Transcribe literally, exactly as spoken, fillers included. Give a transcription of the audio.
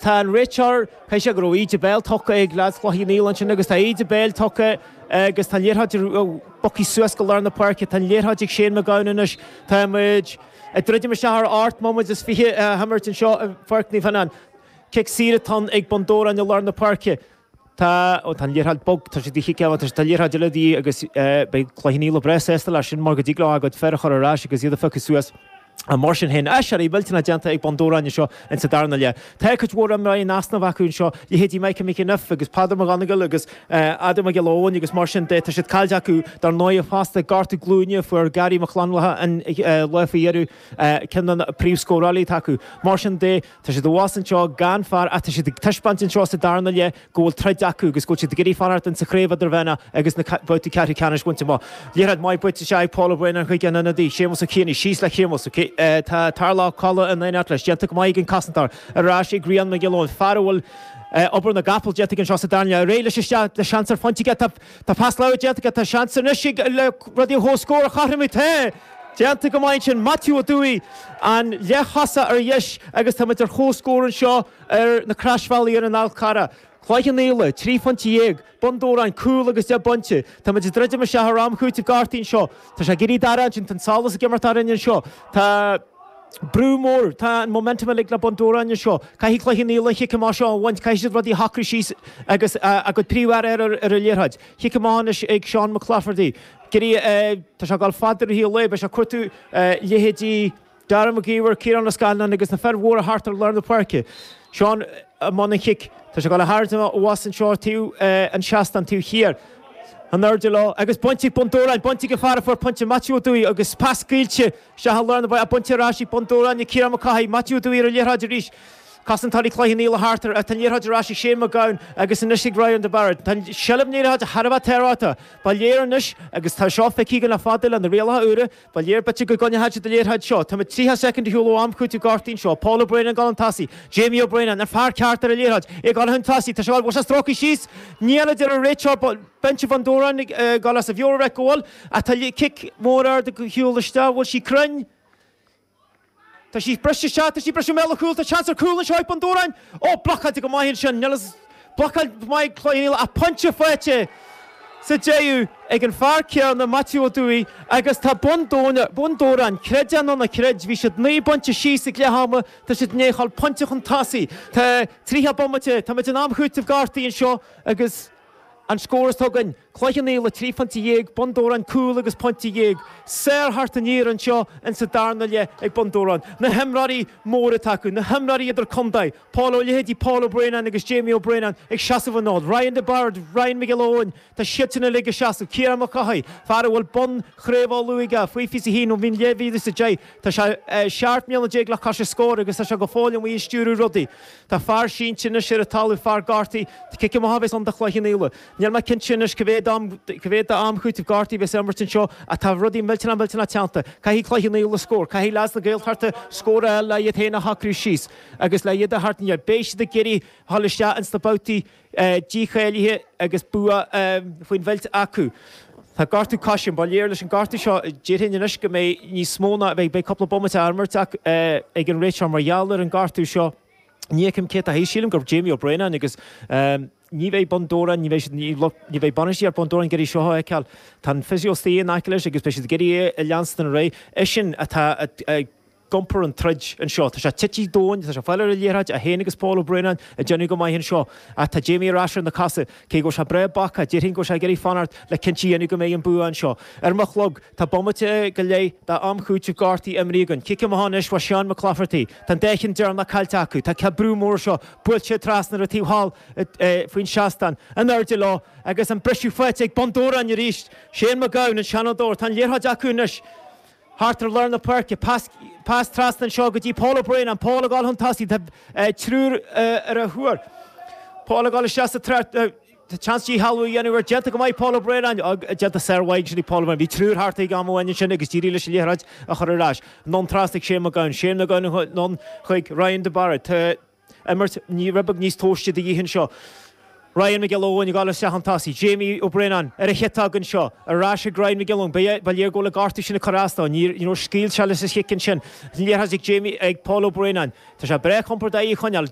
Tá an réiteoir caithfidh sé go raibh íde béil tugtha ag leaids Chloich Cheann Fhaola ansin agus tá íde béil tugtha agus tá an liathróid bogtha suas go lár na páirce, tá an liathróid ag Shane McGowan anois tá muid ag druidim isteach ar ocht mbomaite is fiche a himirt anseo i bPáirc Naomh Fionáin. Cic saor atá ag Bun Dobhráin i lár na páirce. Tá ó tá an liathróid bog tá sé de chic tá tá liathróid eile de dhíth agus beidh Cloich Cheann Fhaola breá sásta leis sin mar go dtig leo a gcuid fear a chur ar ais agus iad a phiocadh suas. Mar sin féin, aiséirí millteanach déanta ag Bun Dobhráin anseo insa darna leath. Tá cuid mhór imreoirí in easnamh acu anseo, leithéidí Michael McEniff agus Peadar McGonigal agus Adam Mac Giolla Eoin agus mar sin de. Tá siad caillte acu dar ndóigh fosta gortú glúine a fuair Gary Mac Fhlannchadha an lá faoi dheireadh, ceann de na príomhscórálaithe atá acu. Mar sin de, tá siad abhus anseo gan fear ach tá siad ag taispeáint anseo sa darna leath go bhfuil troid acu agus go bhfuil siad ag iarraidh fanacht insa chraobh idirmheánach agus na babhtaí ceathrú ceannais a bhaint amach. Liathróid mhaith buaite isteach ag Paul Ó Braonáin chuig an ionadaí, Séamus Ó Cianaigh, síos le Séamus. Tá Tarlach Ó Colla in éineacht leis, déanta go maith ag an cosantóir, ar ais ag Rian Mac Giolla Eoin, fear a bhfuil obair na gcapall déanta aige anseo sa darna leath. Ar aghaidh leis isteach le seans ar phointe aige. Tá pas láimhe déanta aige, tá seans anois ag le rudaí a chomhscór a chothromú. Tá! Déanta go maith ansin, Maitiú Ó Dúill, an leath-chosa ar dheis agus tá muid ar chomhscór anseo ar na Croisbhealaí ar an Fhál Carrach. Cloich Cheann Fhaola, trí phointe dhéag, Bun Dobhráin, cúl agus deich bpointe. Tá muid ag druidim isteach ar am chúitimh gortaithe anseo. Tá sé ag éirí dorcha ansin, tá an solas ag imeacht orainn anseo. Tá brú mór, tá an momentum uilig le Bun Dobhráin anseo. Caithfidh Cloich Cheann Fhaola an chic amach seo a bhaint, caithfidh siad rudaí a shocrú síos agus a gcuid príomhfhear ar ar an liathróid. Cic amach anois ag Seán McClafferty. Tá sé ag dul fada ar thaobh lae, beidh sé ag cuartú leithéidí Dara Mac Íomhair, Ciarán Ó Scanláin agus na fir mhóra thart ar lár na páirce. Seán i mbun an chic. Tá sé ag dul a tharraingt abhus anseo taobh an seastán taobh thiar. In airde leo agus bainte ag Bun Dobhráin, bainte ag an fear a fuair pointe, Maitiú Ó Dúill agus pas scaoilte isteach i lár na páirce, bainte ar ais ag Bun Dobhráin ag Ciarán Mac Cárthaigh, Maitiú Ó Dúill ar an liathróid arís. Cosantóirí Chloich Cheann Fhaola thart air, tá an liathróid ar ais ag Shane McGowan agus anois ag Ryan de Barra. Tá an seilbh na liathróide thar a bheith tábhachtach. Ba léir anois, agus tá seo feicthe againn le fada le na rialacha úra, ba léir b'fhéidir go gcoinneoidh siad an liathróid seo. Tá muid tríocha soicind ar shiúl ó am chúitimh gortaithe anseo. Paul Ó Braonáin ag dul chun tosaigh. Jamie Ó Braonáin, an fear ceart ar an liathróid, é ag dul chun tosaigh. Tá sé ag dul, bhfuil sé stróicthe síos? Níl, a deir an réiteoir. Binse Bhun Dobhráin ag dul as a mheabhair go bhfuil. Ach tá cic mór ard ar shiúl isteach. Bhfuil sí cruinn? Tá sí briste isteach, tá sí briste i mbéal an chúil, tá seans ar chúl anseo ag Bun Dobhráin! Ó, blocáilte go maith ansin, níl fhios, blocáil mhaith ag Cloich Cheann Fhaola ach pointe faighte sa deireadh ag an fear céanna, Maitiú Ó Dúill, agus tá Bun Bun Dobhráin, creid é nó ná creid, bhí siad naoi bpointe síos ag leath ama, tá siad i ndiaidh a dhul pointe chun tosaigh. Tá tríocha bomaite, tá muid in am chúitimh gortaithe anseo agus. An scór atá againn, Cloich Cheann Fhaola trí phointe dhéag, Bun Dobhráin cúl agus pointe dhéag. Sár-theacht aniar anseo insa darna leath ag Bun Dobhráin. Na himreoirí móra atá acu, na himreoirí idir-chontae, Paul Ó leithéidí Paul Ó Braonáin agus Jamie Ó Braonáin ag seasamh an fhóid, Ryan de Bard, Ryan Mac Giolla Eoin, tá siadsan uilig ag seasamh, Ciarán Mac Cárthaigh, fear a bhfuil bonn Chraobh Uladh aige faoi fiche a haon ó bhí dhá mhíle is a deich, tá sé seacht mbliana déag le cois an scóir agus tá sé go fóill amuigh ag stiúradh rudaí. Tá fear sínte anois ar an talamh, fear gortaithe. Tá cic amach a bheas ann do Chloich Cheann Fhaola. Níl mé cinnte anois cá mhéad am, cá mhéad d'am chúitimh gortaithe a bheas á imirt anseo ach tá rudaí millteanach millteanach teannta. Caithfidh Cloich Cheann Fhaola scór. Caithfidh leaids na Gaeltachta scór a fháil le iad féin a shocrú síos agus le iad a theacht aniar. Beidh siad ag iarraidh a dhul isteach ins na babhtaí dícháilithe agus bua faoin bheilt acu. Tá gortú coise, ba léir leis an gortú seo, déarfainn anois go mbeidh níos mó ná, beidh cúpla bomaite á imirt ag an réiteoir mar gheall ar an gortú seo. Ní fheicim cé atá thíos, sílim gur Jamie Ó Braonáin agus ní bheidh Bun Dobhráin, ní bheidh siad, ní bheidh bainistíocht Bun Dobhráin ag iarraidh seo a fheiceáil. Tá an physio istigh in aice leis agus beidh siad ag iarraidh é a leanstan ar aghaidh. Eisean atá ag iompar an troid anseo. Tá sé tite domhain, tá sé ag fáil ar an liathróid, é féin agus Paul Ó Braonáin ag déanamh go maith anseo. Ach tá Jamie ar ais ar na cosa, cé go bhfuil sé breá bacach, déarfainn go bhfuil sé ag iarraidh fanacht le cinnte a dhéanamh go mbeidh an bua anseo. Ar mo chlog, tá bomaite go leith d'am chúitimh gortaithe imrithe againn. Cic amach anois ó Seán McClafferty. Tá an dá cheann deireanach caillte acu. Tá brú mór seo buailte trasna ar an taobh thall faoin seastán. In airde leo agus an briseadh faighte ag Bun Dobhráin arís. Shane McGowan, an Seanadóir. Tá an liathróid acu anois. Thart ar lár na páirce, pas pas trasna anseo go dtí Paul Ó Braonáin, Paul ag dul chun tosaigh, tá triúr ar a thóir. Paul ag dul isteach sa treo, tá seans díshealbhú a dhéanamh air, déanta go maith Paul Ó Braonáin, déanta sármhaith ansin ag Paul Ó Braonáin. Bhí triúr thart ag am amháin ansin agus d'éirigh leis an liathróid a chur ar ais. Anonn trasna ag Shane McGowan, Shane McGowan anonn chuig Ryan de Barra. Tá imirt rud beag níos tomhaiste de dhíth anseo. Ryan Mac Giolla Eoin ag dul isteach chun tosaigh. Jamie Ó Braonáin ar a chiotóg anseo. Ar ais ag Ryan Mac Giolla Eoin. Ba léir go bhfuil an gortú sin ag cur as dó. Ní raibh scaoil sé leis an chic ansin. An liathróid ag Jamie ag Paul Ó Braonáin. Tá sé breá compordach í a choinneáil.